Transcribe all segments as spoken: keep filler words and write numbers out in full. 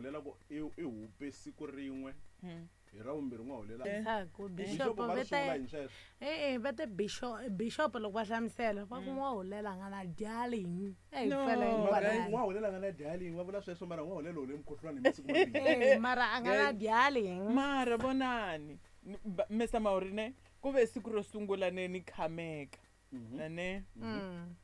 n'wahulela ku i i hupe siku rin'we hi ra vumbirhi n'wahulela Leswaku bishop bishop va ri vete swi vula yini sweswo e-e va te bishop bishop loko va hlamusela va ku n'wahulela a nga na darling e hi No, pfela mara kwalano. n'wahulela a nga na darling va vula sweswo mara n'wahulela hole mukhuhlwani hi masiku mambirhi Eh, mara a nga na darling mara vonani Ni- ba- Mr Maurine ku ve siku ro sungula ne ni khameka na ne Mm.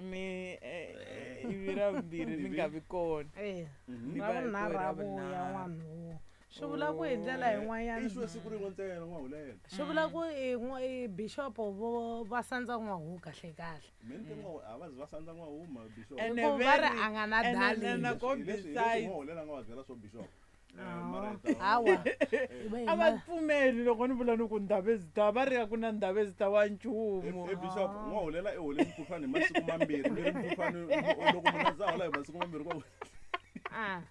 mi eh, eh, ivi ra vumbirhi ni nga vi kona Eh, Ni ra va hi vunharhu ku a ra vuya vunharhu. n'wanhu swi vula ku hi ndlela yin'wanyana i xo siku rin'we ntsena n'wahulela swi vula ku i n'wa- i bishop vo va sandza n'wahu kahle kahle me ni te n'wa- a va zi va sandza n'wahuma bishop Ene Hikuva va ri veri- a nga na ene darling. na- ko Hi leswi- hi leswi besides- n'wahulela a nga va byela swo bishop Eh, Ah, mara hi ta- hawa a va pfumeli loko ni vula ni ku ndhavezita va ri a ku na ndhavezita wa nchumu e bishop n'wahulela i hole mukhuhlwani hi masiku mambirhi mi ri mukhuhlwani loko munhu a za hola hi masiku mambirhi kwa Ah,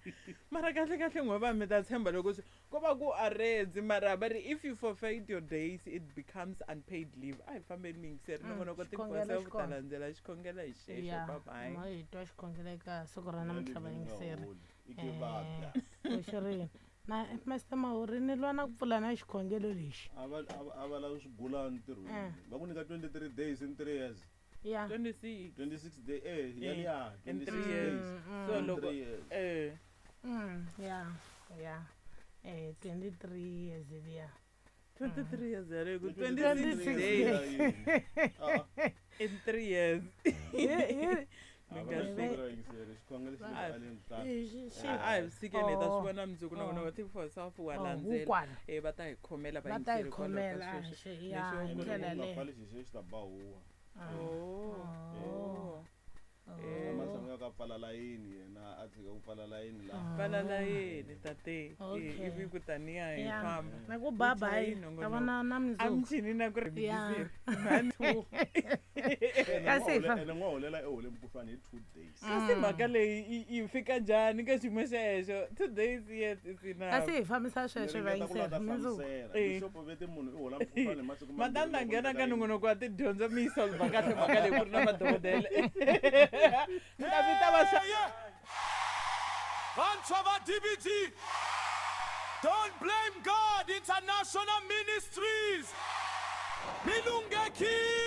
mara kahle kahle n'we va mi ta tshemba loko swi ko va ku aredzi mara va ri if you forfeit your days it becomes unpaid leave a hi fambeni miyingiseri nongonoko xikhongelo tifosa xi ku ta kona. landzela xikhongelo hi xexo ya babayi ma hi twa xikhongelo eka siku ra namuntlha vayingiseri i ke vabya oxirini na master mahuri ni lwa na ku pfula na xikhongelo lexi a va a va- a va lavi swigulani ntirhweni Eh. va ku nyika twenty-three days in three years ya twenty-six twenty-six day eh yaliya in twenty-six three years days so In loko three years. eh Mm, ya ya eh twenty-three years liya twenty-three years yaleyo ku twenty-six twenty-six days days. Ah, ah. in three years Hi- hi- Mi A nga va hleki. xikhongelo yingiseri, xikhongelo xi le Ah. aleni ta- hi- xi- xi- a a hi sikeni hi ta Oh. swi vona mundzuku nongonoko ti-for self wa Oh, landzela hukwala. eh va ta hi khomela va ta hi vayingiseri kwalaho ka khomela sweswo. xi- ya Lexi hi u ndlela Loko u nga leyo pfali xixo xi ta ba huwa Oh. Oh. Eh. ematshan'wini ya ku a pfala layini yena a tshika ku pfala layini laha pfala layeni tate Okay. Eh, ivi kutani ya hi Ya. famba na ku babayi Uchayi ta nongonoko. vona na mundzuku amchini na ku ri Ya. muyingiseri. One, two. Kasi hi fa- ene n'wahulela i hole mukhuhlwani hi two days kasi mhaka leyi yi- yi fika njhani ka xiyimo xexo two days yet is enough kasi hi fambisa sweswo Ni ringeta ku la vayingiseri ta mundzuku hlamusela. Eh. Bishop vete munhu i hola mukhuhlwani hi masiku mambirhi matanda loko nghena nyika ka yini. nongonoko wa tidyondzo mi yi solva kahle mhaka leyi ku ri na madokodela ni ta mi ta va xa Vantshwa va D B G, Don't Blame God International Ministries, mi lunghekile.